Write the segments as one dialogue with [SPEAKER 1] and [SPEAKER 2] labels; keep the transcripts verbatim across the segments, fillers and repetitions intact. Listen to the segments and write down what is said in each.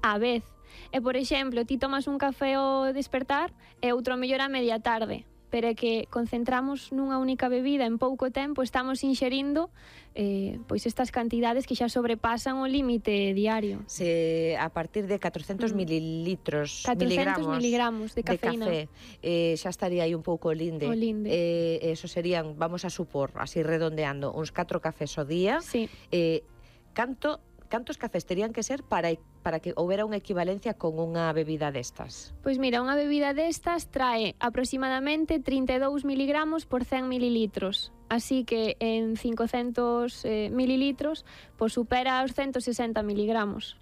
[SPEAKER 1] á vez. E, por exemplo, ti tomas un café ao despertar e outro mellor a media tarde, pero é que concentramos nunha única bebida en pouco tempo, estamos inxerindo eh, pois estas cantidades que xa sobrepasan o límite diario.
[SPEAKER 2] Se a partir de catrocentos mm. mililitros
[SPEAKER 1] catrocentos
[SPEAKER 2] miligramos,
[SPEAKER 1] miligramos de cafeína,
[SPEAKER 2] de café, eh, xa estaría aí un pouco o linde.
[SPEAKER 1] O linde.
[SPEAKER 2] Eh, eso serían, vamos a supor, así redondeando, uns catro cafés ao día.
[SPEAKER 1] Sí.
[SPEAKER 2] Eh, canto cantos cafés terían que ser para para que houbera unha equivalencia con unha bebida destas?
[SPEAKER 1] Pois mira, unha bebida destas trae aproximadamente trinta e dous miligramos por cen mililitros. Así que en cincocentos eh, mililitros pois supera os ciento sesenta miligramos.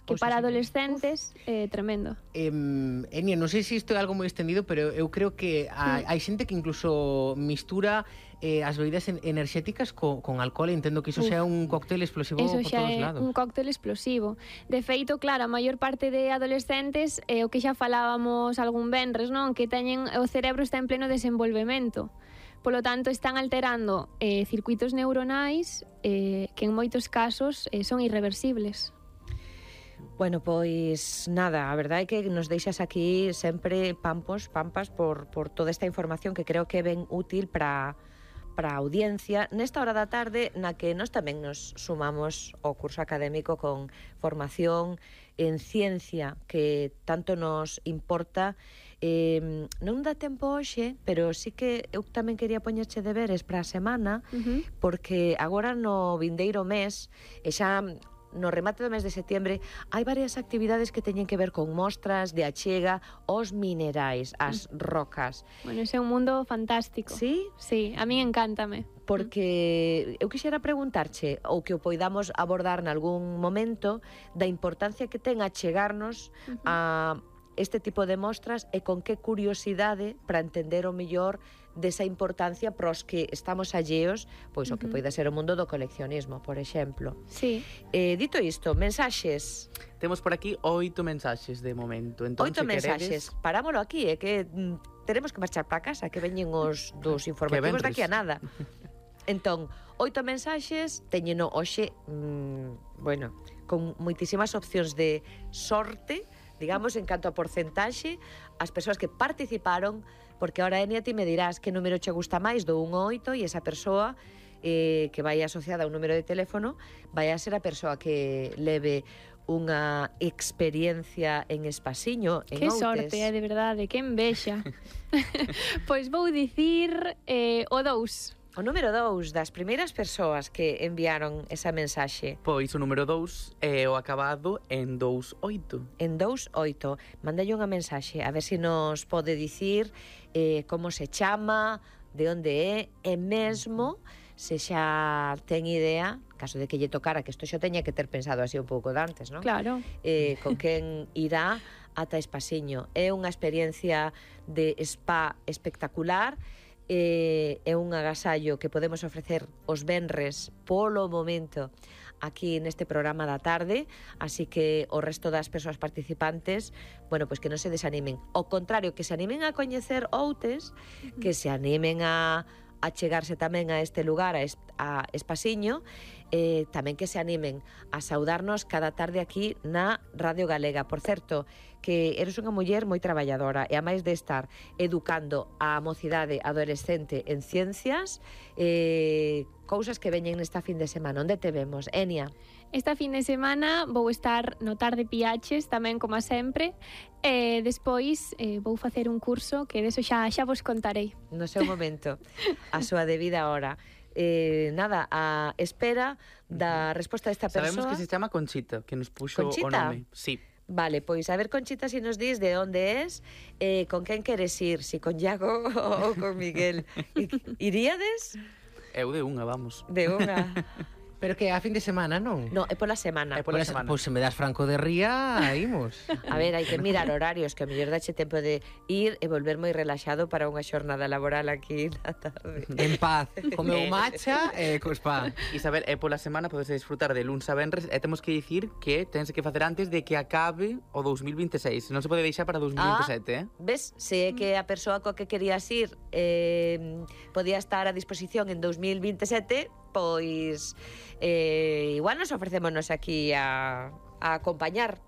[SPEAKER 1] Que
[SPEAKER 2] Pois
[SPEAKER 1] para
[SPEAKER 2] así,
[SPEAKER 1] adolescentes é eh, tremendo.
[SPEAKER 3] Eh, Enia, non sei se isto é algo moi extendido, pero eu creo que hai, hai xente que incluso mistura eh, as bebidas en, enerxéticas co, con alcohol. Entendo que iso
[SPEAKER 1] Uf,
[SPEAKER 3] xa é un cóctel explosivo
[SPEAKER 1] Eso
[SPEAKER 3] por
[SPEAKER 1] xa
[SPEAKER 3] todos
[SPEAKER 1] é
[SPEAKER 3] lados.
[SPEAKER 1] un cóctel explosivo. De feito, claro, a maior parte de adolescentes é eh, o que xa falábamos algún venres, non? Que teñen o cerebro está en pleno desenvolvemento. Polo tanto, están alterando eh, circuitos neuronais eh, que en moitos casos eh, son irreversibles.
[SPEAKER 2] Bueno, pois nada, a verdade é que nos deixas aquí sempre pampos, pampas por, por toda esta información que creo que é ben útil para para a audiencia nesta hora da tarde na que nós tamén nos sumamos ao curso académico con formación en ciencia que tanto nos importa. Eh, non dá tempo hoxe, pero sí que eu tamén quería poñerche deberes para a semana,
[SPEAKER 1] Uh-huh.
[SPEAKER 2] porque agora no vindeiro mes e xa no remate do mes de setembro hai varias actividades que teñen que ver con mostras de achega aos minerais, as rocas.
[SPEAKER 1] Bueno, ese é un mundo fantástico.
[SPEAKER 2] Sí?
[SPEAKER 1] Sí, a mí encántame.
[SPEAKER 2] Porque eu quixera preguntarche, ou que o poidamos abordar nalgún momento, da importancia que ten achegarnos
[SPEAKER 1] Uh-huh.
[SPEAKER 2] a este tipo de mostras e con que curiosidade para entender o mellor desa importancia pros que estamos alleos, pois o que
[SPEAKER 1] Uh-huh.
[SPEAKER 2] poida ser o mundo do coleccionismo, por exemplo.
[SPEAKER 1] Sí.
[SPEAKER 2] Eh, dito isto, mensaxes.
[SPEAKER 4] Temos por aquí oito mensaxes de momento. Entón,
[SPEAKER 2] Oito
[SPEAKER 4] se
[SPEAKER 2] mensaxes.
[SPEAKER 4] queredes...
[SPEAKER 2] Parámolo aquí, é que mm, tenemos que marchar para casa, que veñen os dos informativos
[SPEAKER 4] venres.
[SPEAKER 2] daqui a nada. Entón, oito mensaxes, teñeno hoxe, mmm, bueno, con moitísimas opcións de sorte, digamos, en canto a porcentaxe, as persoas que participaron, porque ahora, Enia, ti me dirás que número che gusta máis do un ao oito e esa persoa eh, que vai asociada a un número de teléfono vai a ser a persoa que leve unha experiencia en Espasiño, en
[SPEAKER 1] Que
[SPEAKER 2] Outes.
[SPEAKER 1] sorte, é de verdade, que envexa. Pois vou dicir eh, o dous.
[SPEAKER 2] O número dous das primeiras persoas que enviaron esa mensaxe
[SPEAKER 4] Pois o número dous é o acabado en dous oito.
[SPEAKER 2] en dous oito. Mandalle unha mensaxe a ver se nos pode dicir eh, como se chama, de onde é, e mesmo se xa ten idea, caso de que lle tocara, que isto xa teña que ter pensado así un pouco de antes, non?
[SPEAKER 1] Claro.
[SPEAKER 2] Eh, con quen irá ata Espasiño. É unha experiencia de spa espectacular. Eh, é un agasallo que podemos ofrecer os venres polo momento aquí neste programa da tarde, así que o resto das persoas participantes, bueno, pois que non se desanimen, ao contrario, que se animen a coñecer Outes, uh-huh. que se animen a a chegarse tamén a este lugar, a, est a Espasiño, eh, tamén que se animen a saudarnos cada tarde aquí na Radio Galega. Por certo, que eres unha muller moi traballadora e a máis de estar educando a mocidade adolescente en ciencias, eh, cousas que veñen nesta fin de semana. Onde te vemos, Enia?
[SPEAKER 1] Esta fin de semana vou estar no Tarde Piaches, tamén como sempre, e despois eh, vou facer un curso que deso xa, xa vos contarei.
[SPEAKER 2] No seu momento, a súa debida hora. Eh, nada, a espera da resposta desta persoa.
[SPEAKER 4] Sabemos que se chama Conchita, que nos puxo
[SPEAKER 2] Conchita?
[SPEAKER 4] o nome. Sí.
[SPEAKER 2] Vale, pois a ver, Conchita, si nos dis de onde es, eh, con quen queres ir, si con Iago ou con Miguel. Iríades?
[SPEAKER 4] Eu de unha, vamos.
[SPEAKER 2] De unha.
[SPEAKER 3] Pero que a fin de semana, non?
[SPEAKER 2] No, é pola semana.
[SPEAKER 4] É pola semana.
[SPEAKER 3] Pois se me das franco de ría, imos.
[SPEAKER 2] A ver, hai que mirar horarios, que a mellor dache tempo de ir e volver moi relaxado para unha xornada laboral aquí na tarde.
[SPEAKER 3] En paz, comeu macha e co spa.
[SPEAKER 4] Isabel, é pola semana podes disfrutar de luns a venres e temos que dicir que tense que facer antes de que acabe o dous mil vinte e seis. Non se pode deixar para dous mil vinte e sete,
[SPEAKER 2] Ah,
[SPEAKER 4] eh?
[SPEAKER 2] ves, se é que a persoa coa que querías ir eh, podía estar a disposición en dous mil vinte e sete, pois eh, igual nos ofrecémonos aquí a, a acompañar